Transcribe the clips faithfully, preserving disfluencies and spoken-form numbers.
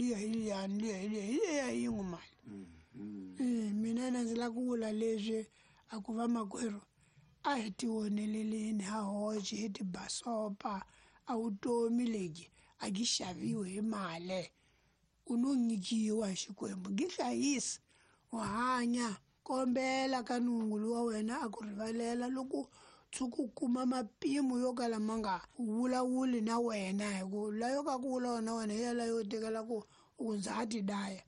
Liya hi liyani, liya hi liya, hi liya hi yin'we mali. Eh, mina na ndzi lava ku vula leswi a ku vamakwerhu a hi tioneleleni ha hoxe hi tibasopa a vutomi lebyi a byi xaviwi hi mali u no nyikiwa hi Xikwembu byi hlayisa u hanya kombela ka nungulu wa wena a ku rivalela loko tshuka u kuma mapimo yo kala ma nga vulavuli na wena hi ku layo ka ku vulavula na wena hi yalayo tekela ku u ndza ha ti daya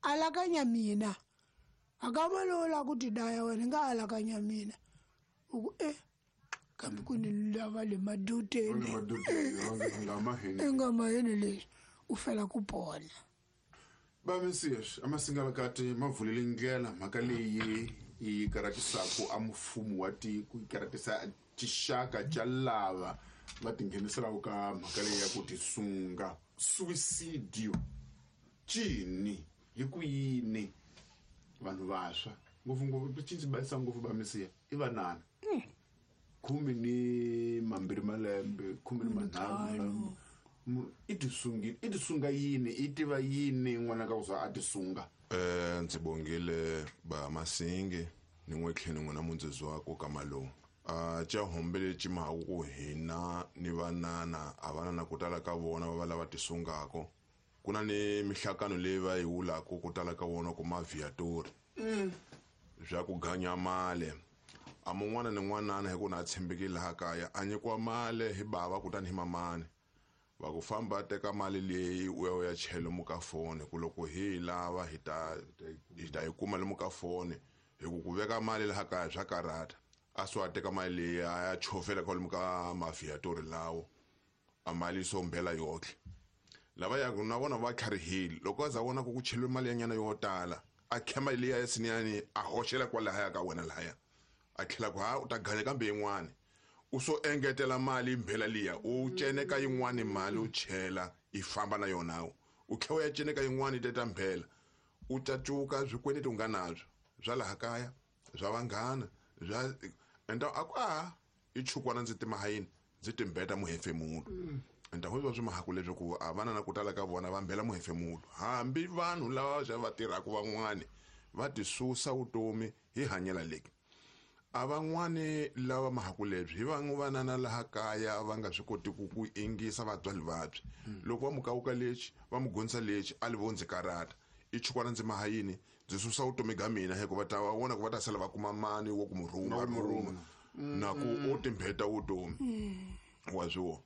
alakanya mina akama lowu la ku ti daya wena nga alakanya mina u ku e kambe ku ni lava le maduteni i nga maheni leswi u fela ku pona. Bamisias amasingalakati ma vulele ndlela mhaka leyi yi karatisaka a mfumo wa tiko yi karatisa tixaka ca lava va tingheniselaka ka mhaka leyi ya ku tisunga suicidio cini hi ku yini vanhu vantshwa ngopfungopfu cinci bayisa ngopfu bamisiya i vanana khume ni mambirhi malembe khume ni manharhu i tisungi i tisunga yini i tiva yini n'wana ka ku za a tisunga. Eh ndzi bongile ba Masingi ni n'we tlhelo n'wana mundzezi wa ku ka malume a ca hombele cimaku ku hina ni vanana a vanana ku tala ka vona va va lava tisungako ku na ni mihlakano leyi va yi wulaka ku tala ka vona ku maviatori bya ku ganya mali a mun'wana ni n'wanana hi ku na tshembekile laha kaya a nyikiwa mali hi bava kutani hi mamani va ku famba teka mali leyi u ya u ya chela lomu ka foni ku loko hi lava hi ta hi ta yi kuma lomu ka foni hi ku ku veka mali laha kaya swa karhata a swi a teka mali leyi a ya chovela kwalomu ka maviatori lawo a mali so mbela yotlhe lava ya na vona va tlharihile loko a za vona ku ku cheliwe mali ya nyana yo tala a kha mali leyi ya siniyani a hoxela kwalahaya ka wena lahaya a tlhela ku ha u ta ganya kambe yin'wani u so engetela mali mbhela liya u ceneka yin'wani mali u chela i famba na yona u tlhela u ya ceneka yin'wani teta mbhela u cacuka swikweleti u nga nabyo bya laha kaya bya vanghana bya enda a ku a i chukwana ndzi tima yini ndzi timbeta muhefemulo enda ho swi mahaku leswaku a vana na ku tala ka vona va mbhela muhefemulo hambi vanhu lava va va tirhaka van'wani va tisusa vutomi hi hanyela leki a van'wani lava mahaku lebyi hi van'we vanana laha kaya va nga swi koti ku ku ingisa vatswari vabyi loko va mukawuka lexi va mu gonisa lexi a li vo ndzi karata i chukwana ndzi maha yini ndzi susa vutomi bya mina hikuva ta va vona ku va ta sala va kuma mani wo ku mu rhuma rhuma na ku u timbheta vutomi wa swi vona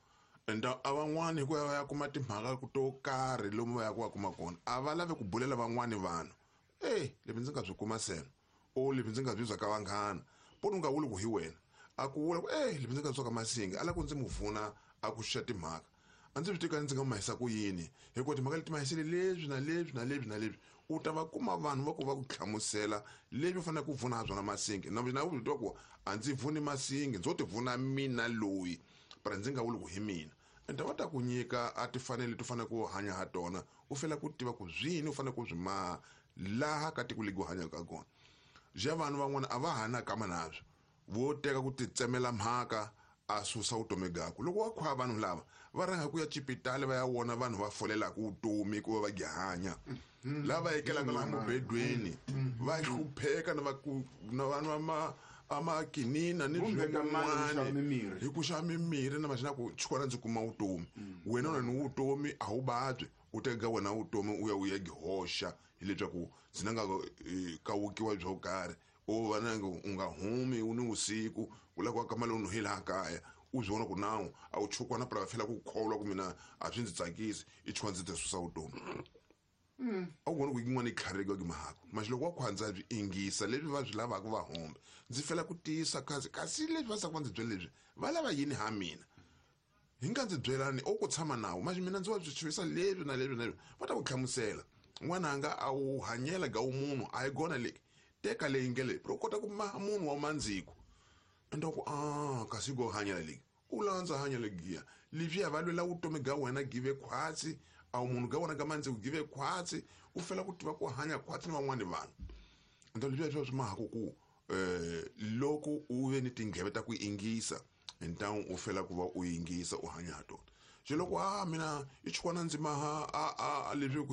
enda a van'wani hikuva va ya kuma timhaka to karhi lomu va ya ku va kuma kona a va lavi ku bulela van'wani vanhu e leswi ndzi nga swi kuma sena o leswi ndzi nga byi bya ka vanghana poni u nga vuli ku hi wena a ku vula ku e leswi ndzi nga byi ka Masingi a lava ku ndzi mu pfuna a ku xuxa timhaka a ndzi swi tika ndzi nga mahisa ku yini hikuva timhaka leti mahisele leswi na leswi na leswi na leswi u ta va kuma vanhu va ku va ku hlamusela leswi u faneleke ku pfuna ha swona Masingi na mina u swi tiva ku a ndzi pfuni Masingi ndzo ti pfuna mina loyi para ndzi nga vuli ku hi mina ende va ta ku nyika a tifanele ti fanele ku hanya ha tona u fela ku tiva ku zwini u fanele ku swi maha laha ka tiko legi u hanyaka kona ja vanhu van'wana a va ha na kama nabyo vo teka ku titsemela mhaka a susa vutomi byakwe loko wa khwa vanhu lava va rhanga ku ya cipitali va ya vona vanhu va folelaka vutomi ku va va hanya lava ekelaka laha mubedweni va hlupheka na va ku na vanhu va ma a makinina ni swin'wana hi ku xava mimirhi na maxina ku chukwana ndzi kuma vutomi wena u na ni vutomi a wu vabyi u teka wena vutomi u ya u ya gihoxa hileswaku ndzi na nga kawukiwa byo karhi o va na u nga humi u ni vusiku u lava ku aka mali u hi laha kaya u swi vona ku nawu a wu chukwana pra fela ku kholwa ku mina a swi ndzi tsakisi i chukwana ndzi ti susa vutomi a wu vona ku yin'wana yi tlharika ki mahako maxi loko wa khwandza byi ingisa leswi va swi lavaka va hombe ndzi fela ku tiyisa kasi kasi leswi va saka va ndzi byela leswi va lava yini ha mina hi nga ndzi byelani o ku tshama nawu maxi mina ndzi wa swi chavisa leswi na leswi na leswi va ta ku hlamusela n'wananga a wu hanyela ga wu munhu a hi gona leki teka leyi nge leyi u kota ku maha munhu wa mandziko enda ku a kasi go hanyela leki u landza hanyela giya leswiya va lwela vutomi ga wena give khwatsi a wu munhu ga wena ga mandziko give khwatsi u fela ku tiva ku hanya khwatsi ni van'wani vanhu enda leswiya swa swi mahaku ku um loko u ve ni tindleve ta ku ingisa ntawu u fela ku va u yingisa u hanya ha tona se loko a mina i chukwana ndzi maha a a leswi ku